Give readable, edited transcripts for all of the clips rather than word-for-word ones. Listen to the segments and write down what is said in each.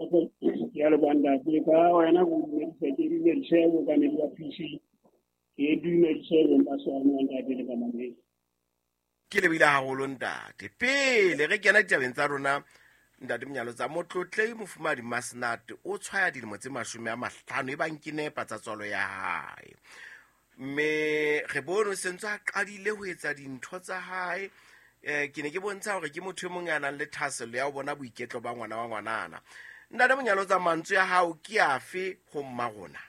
Soto, ke a leboha ntate. Ka wena ke o dumedisa, ke dumedise bookamedi ba PC, ke dumedise beng ba sona ntate le bamamedi. Ke lebile haholo ntate. Pele re kena ditabeng tsa rona ntate Monyalotsa, motlotlei mofumahadi Masenate o tshwaya dilemo tse 50 e bang ke nepa tsa tswalo ya hae. Mme re bone o sentse a qadile ho etsa dintho tsa hae. Ke ne ke bontsha hore ke motho e mong ya nang le thahasello ya ho bona boiketlo ba ngwana wa ngwanana. Ntate Monyalotsa, mantswe ya hao ke afe ho mma rona?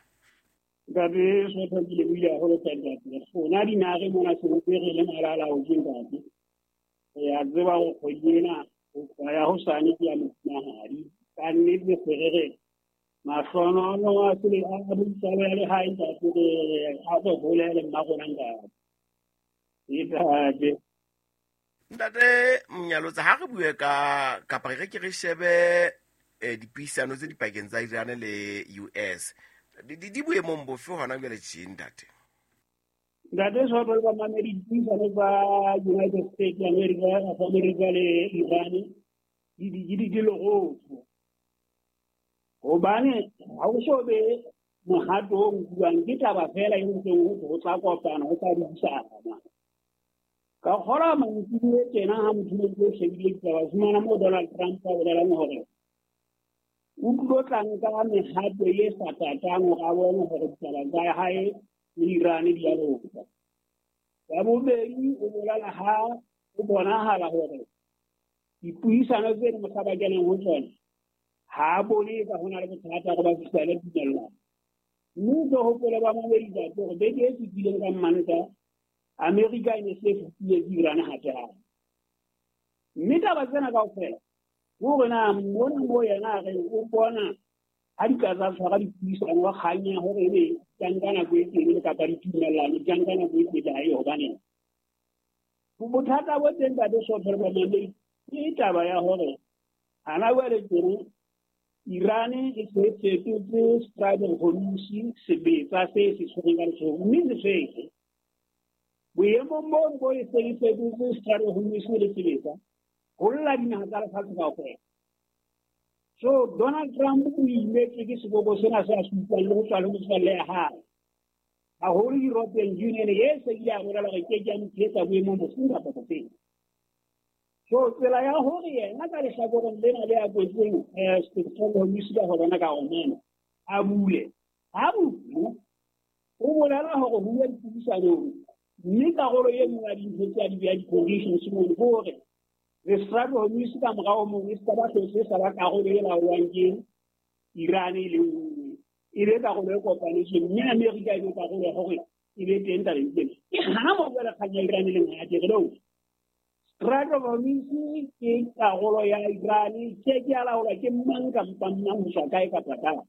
Ntate Sotho, ke lebohile haholo hle ntate. Rona dinare mona sentse re le malalaotswe ntate. Re a tseba hore kgwedi ena ho tloha ya hosane ke ya mofumahadi. Ka nnete se re re mahlohonolo a sele a boitswalo ya lehae ntate, re a re holele mma rona ntate. Ntate. Ntate Monyalotsa, ha re bue ka kapa re ke re shebe dipuisano tse dipakeng tsa Iran le US. Di boemong bofe hona jwale tje ntate? Ntate Soto le bamamedi, dipuisano tsa United States America, of America le Iran di lerotho. Hobane ha o so be mohato o nkuwang, ke taba fela e ntseng ho ho tla kopana, ho tla buisana. Ka kgola mantsibuya tjena ha motho o ntse o shebile ditaba, o fumana moo Donald Trump a bolelang hore o tlilo tla nka mehato e sa tatang hore a bone hore ditaba tsa hae le Iran di a loka. Ya bobedi, o bolela ha o bonahala hore dipuisano tse mohla ba kenang ho tsona ha a bone ka ho na le bothata hore ba fihlele tumellano. Mme o tlo hopole ba mamedi ntate hore beke e fetileng ka Mmantaha, Amerika e ne se fetile ke Iran hape hape. Mme taba tsena kaofela hore na mona mo yena a reng o bona ha di ka tsa tshwara dipuisano wa kgang ya hore ebe di nka nako e telele kapa ditumellano di nka nako e telele ha e hobaneng. Bothata bo teng ntate Soto le bamamedi ke taba ya hore hana jwale tjena Iran e se fetotse Strait of Hormuz sebetsa se se tshwereng ka letsoho, mme se fetse. Boemong boo bo e seng e fetotse Strait of Hormuz le sebetsa, ho lla dinaha tsa lefatshe kaofela. So Donald Trump o imetswe ke seboko sena se a se utlwang le ho tswa le motswalle ya hae. Haholo European Union e se ile ya bolela hore ke ke ya mo tshehetsa boemong bofeng kapa bofeng. So tsela ya hore yena ka lehlakoreng lena le a kwetseng Strait of Hormuz ka ho lona ka Oman a bule. Ha bule, o bolela hore ho uwa dipuisanong, mme karolo e nngwe ya dintho tse a di beha di-conditions mono ke hore the Strait of Hormuz ka morao mong e se ka ba hlotse sa ba karolo e laolwang ke Iran e le nngwe, e be karolo e kopanetsweng, mme Amerika e be karolo ya hore e be teng tabeng tsena. Ke hana moo jwale kgang ya Iran e leng ha ke re no. Strait of Hormuz ke karolo ya Iran, ke ke ya laolwa ke mang kapa mang ho tswa kae kapa kae.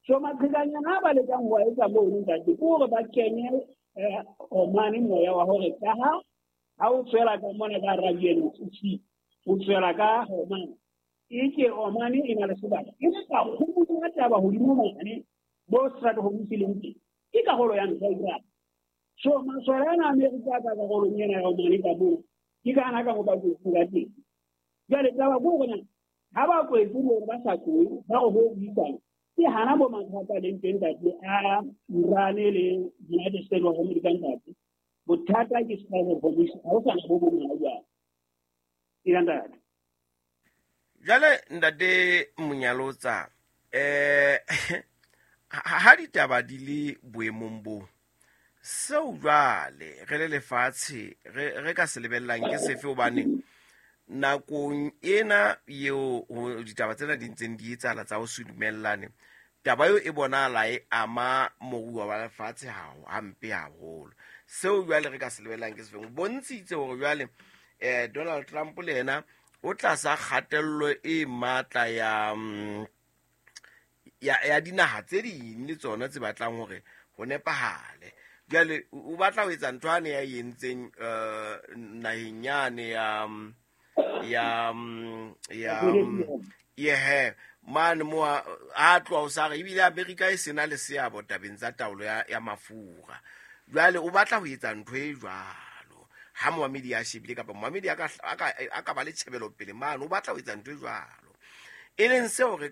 So maqhekanyana a ba lekang ho a etsa mono ntate ke hore ba kenye Oman moya wa hore ka ha o tswela ka mona ka Arabian Sea, o tswela ka Oman, e ke Oman e na le sebaka e le ka kgolo ya taba hodimo mane bo Strait of Hormuz leng teng, ke karolo ya ntho ya Iran. So masole ana Amerika ka karolong ena ya Oman ka moo, ke ka hana ka mo ba kwetseng ka teng. Jwale taba ke hore na ha ba kwetse le hore ba sa tlohe, ba re ho buisana, ke hana bo mathata leng teng ntate a Iran le United States of America ntate. Bothata ke Strait of Hormuz, ha ho sa na bo bong ha jwale. Ke ntate. Jwale ntate Monyalotsa, ha ditaba di le boemong bo, seo jwale re le lefatshe re ka se lebellang ke sefe? Hobane nakong ena eo ditaba tsena di ntseng di etsahala tsa ho se dumellane, taba eo e bonahala e ama moruo wa lefatshe hampe haholo. Seo jwale re ka se lebellang ke sefeng? Bontshitse hore jwale Donald Trump le yena o tlasa kgatello e matla ya dinaha tse ding le tsona tse batlang hore ho nepahale. Jwale o batla ho etsa ntho ane ya e entseng naheng yane ya ya yehe mane mo a tloha o sa re ebile Amerika e sena le seabo tabeng tsa taolo ya mafura. Jwale o batla ho etsa ntho e jwalo ha moamedi a shebile kapa moamedi a ka ba le tjhebelopele mane, o batla ho etsa ntho e jwalo, e leng seo re